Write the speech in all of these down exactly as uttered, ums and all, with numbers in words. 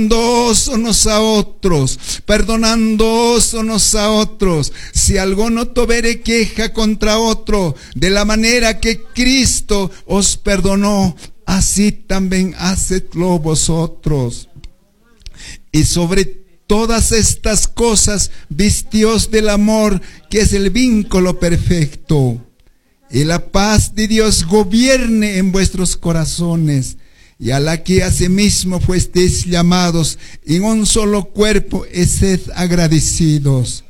Unos a otros, perdonándoos unos a otros. Si alguno tuviere queja contra otro, de la manera que Cristo os perdonó, así también hacedlo vosotros. Y sobre todas estas cosas, vestíos del amor, que es el vínculo perfecto. Y la paz de Dios gobierne en vuestros corazones, y a la que asimismo fuisteis llamados en un solo cuerpo, y sed agradecidos.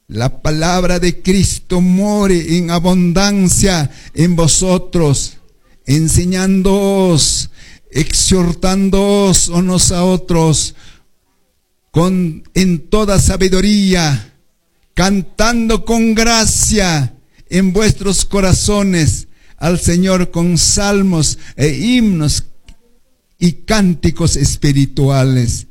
La palabra de Cristo more en abundancia en vosotros, enseñándoos, exhortándoos unos a otros con, en toda sabiduría, cantando con gracia en vuestros corazones al Señor con salmos e himnos y cánticos espirituales.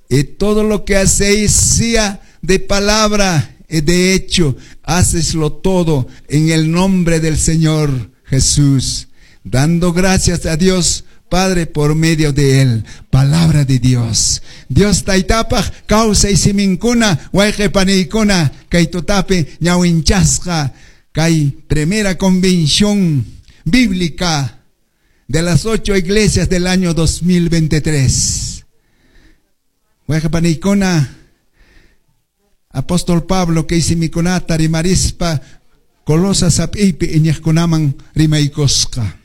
Y todo lo que hacéis, sea de palabra y de hecho, hacedlo todo en el nombre del Señor Jesús, dando gracias a Dios Padre por medio de él. Palabra de Dios. Dios taytapaq kawsay siminkuna, wayqe paniykuna, kay tutapi ñawinchasqa kay primera convención bíblica de las ocho iglesias del año dos mil veintitrés. Wayqe paniykuna, apóstol Pablo kay simikunata rimarispa Colosas hap'iypi iñiqkunaman rimaykusqa.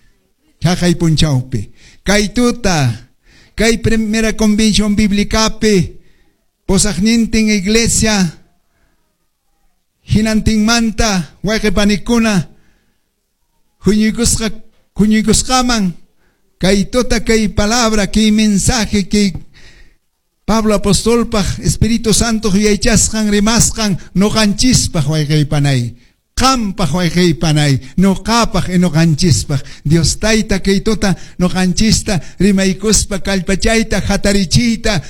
Chaqay punchawpi. Kay tuta, kay primera convención bíblicapi, pusaqnintin iglesia, hinantinmanta, wayqe panikuna, huñuykusqa, huñuykusqaman, kay tuta kay palabra, kay mensaje, kay Pablo apostolpaq Espíritu Santo yuyaychasqan rimasqan noqanchispaq, wayqey panay. Qampaq, wayqey panay, noqapaq y noqanchispaq. Dios tayta kay tuta noqanchista rimaykuspa kallpachayta hatarichiyta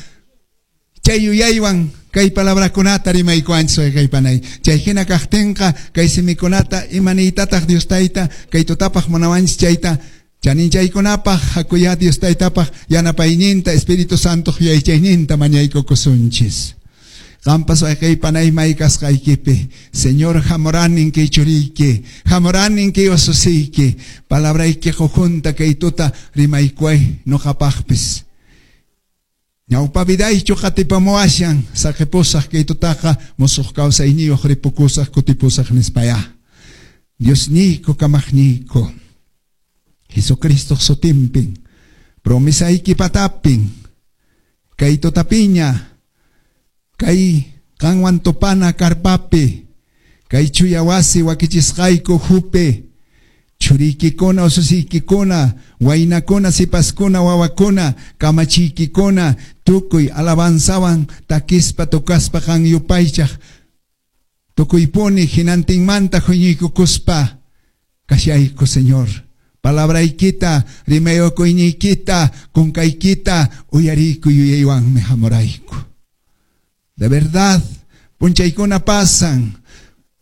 chay yuyaywan kay palabrakunata rimaykuanchis, wayqey panay. Chay hina kaqtinqa kay simikunata imaniytataq Dios tayta kay tutapaq munawanchis chayta chaninchaykunapaq hakuya Dios taytapaq yanapayninta, Espíritu Santo yuyaychayninta mañaykukusunchis. Qampas, wayqey panay, may kasqaykipi, Señor, hamuranin kay churiyki, hamuranin kay ususiyki, palabrayki junta kay tuta rimaykuay noqapaqpis. Ñawpa vidaychu qatipamuwashan, saqipusaq kay tutaqa, musuq kawsayniyuq ripukusaq, kutipusaq nispaya. Diosniyku, kamaqniyku, Jesucristo sutinpin, promesayki patapin, kay tutapiña, kay qanwan tupana karpapi, kay chuya wasi wakichisqayku ukhupi, churiykikuna, ususiykikuna, waynakuna, sipaskuna, wawakuna, kamachiykikuna, tukuy alabanzawan takispa tukaspa qan yupaychaq, tukuypuni hinantinmanta huñuykukuspa kashayku, Señor. Palabraykita, rimayukuyniykita, kunkaykita uyariyku yuyaywanmi hamurayku. De verdad, punchaykuna pasan,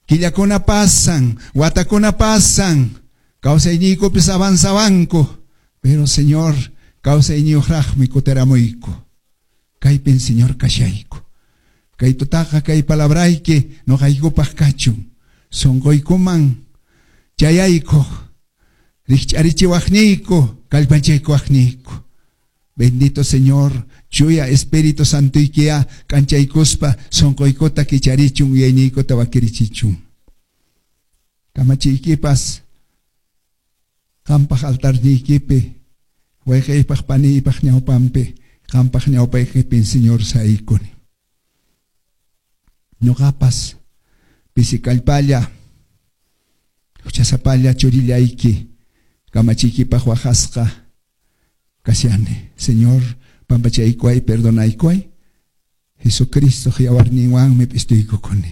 killakuna pasan, watakuna pasan, kawsayniykupis avanzawanku, pero, Señor, kawsayniyuqraqmi kutiramuyku. Kaypin, Señor, kashayku. Kay tutaqa kay palabrayki noqaykupaq kachun. Sunquykuman chayayku, rikch'arichiwaqniyku, kallpanchaykuwaqniyku. Bendito Señor, chuya Espíritu Santoykiya k'anchaykuspa sunquykuta kicharichun, yuyayniykuta wakirichichun. Kamachiykipas qampaq altarniykipi, wayqiypaq paniypaq ñawpanpi, qampaq ñawpaykipin, Señor, saykuni. Ñuqapas pisi kallpalla, huchasapalla churillayki, kamachiykipaq waqasqa kashani. Señor, pampachaykuway, perdonaykuway. Jesucristo yawarninwanmi p'istuykukuni.